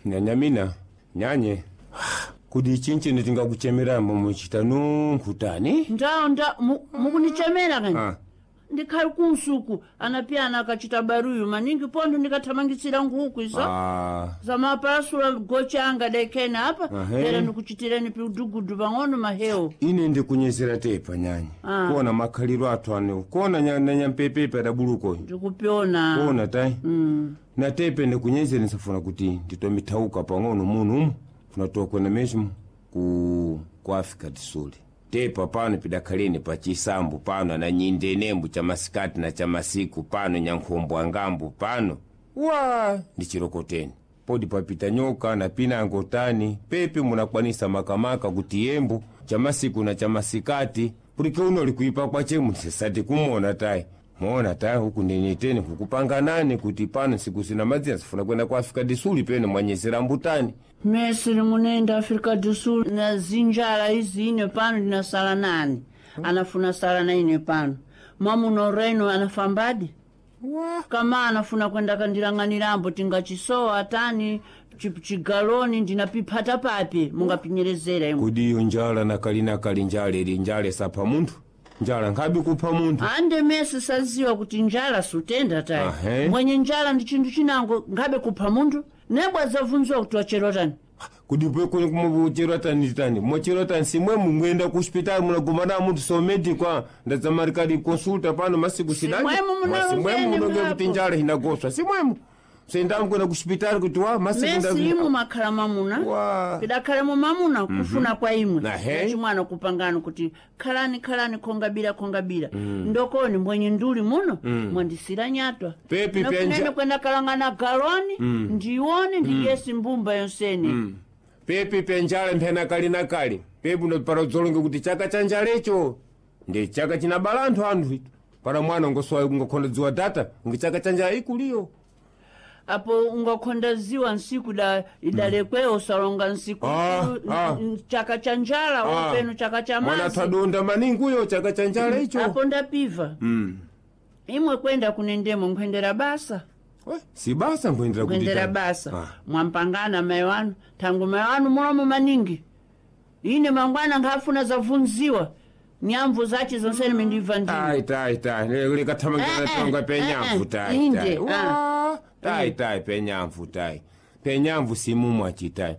Nyanyamina, nyanye. Kudi chinchini tingakuchemera muchita nunkutani? Ndawo nda mukunichemera kani? Ah. Ndikhali kunsuku anapiyana akachita baruyu maningi pontho ndikathamangitsira nkhuku izo. Ah. Zamapasula gocha dekena apa. Ahe. Pera ndikuchitireni piudugudu pang'ono mahewu. Ine ndikunyezera tepa nyanya. Ah. Kuona makhaliro athu ane kuona na nyampepepe adabuluko. Ndikupiona. Kuona tai. Na tepe ndikunyezera nsafuna kuti nditomithauka pang'ono muno umu funatoa kwena mesmo ku Africa do Sul. Tepa pano pidakhaleni pa chisambu pano na nyindenembu cha masikati na cha masiku pano nyankhombo angambu pano wa ndi chirokoteni podi papita nyoka na pinango tani pepe munakwanisa makamaka kuti yembu cha masiku na cha masikati pulike uno likuipa kwachemu sisati kumona tayi mona tayi huku ndeneteni kukupanganani kuti pano siku sina madzina sifuna kwenda ku Africa do Sul pene mwanyezera mbutani. Mesiri munenda Africa do Sul na zinjala izi ine pano ndinasala nani? Anafuna sala na ine pano. Mwamuno reno anafambadi? Wa Kama anafuna kwenda kandilang'anirambo tingachisowa tani chigaloni ndinapiphata papi mungapinyerezera imwe. Kodi iyo njala nakali nakali njala ili njala isapha munthu njala nkhabe kupha munthu. Ande mese saziwa kuti njala sutenda tayi. Ahe. Mwenye njala ndi chinthu chinango ngabe kupha munthu nebwa zavunziwa kuti wachero tani. Kodi pekuni kumuchero tani tani mochero tani simwe mungenda ku hospitali munagumana munthu so medico ndadzamalikali consulta pano masiku sidani. Simwemo munalongene simwemo munonge mwapo. kuti njala inagoswa simwemo sendamkwenda ku hospitali kuti wa masiku Mesi imwe makhala mamuna. Wa. Pidakhalemo mamuna kufuna kwa imwe. Ahe. Nachimwana kupangano kuti khalani khalani khongabira khongabira. Ndokoni mwenye nduli muno mwandisira nyatwa. Pepi Nafunene penja- kwenda kalangana galoni ndione ndiyesi mbumba yonsene. Pepi penjala mphena kali na kali pepi para dzolonge kuti chaka cha njalecho ndi chaka chinabala anthu anthu itu para mwana ungosowa ungakhonda dziwa data ngi chaka cha njala ikuliyo. Apo ungakhonda ziwa nsiku da idalekweyo usalonga nsiku. Ah, ah. Chaka cha njala openo chaka cha mwana mazi. thadonda maningi uyo chaka cha njala icho. Apo ndapiva. Imwe kwenda kunendemo nkhwendera basa. We, si basa nkhwendera kuti Nkhwendera tani. basa. Ah. Mwampangana mai wanu thangu mai wanu mulomo maningi. Ine mangwana nkhafuna zavunziwa nyamvu zace zonsene mindibva ndini. Tai tai tai likathamangira Eh, eh, tonga penyamvu eh, tai inde, tai. ah. Wa, tai tai penyamvu tai penyamvu simumwe achitai.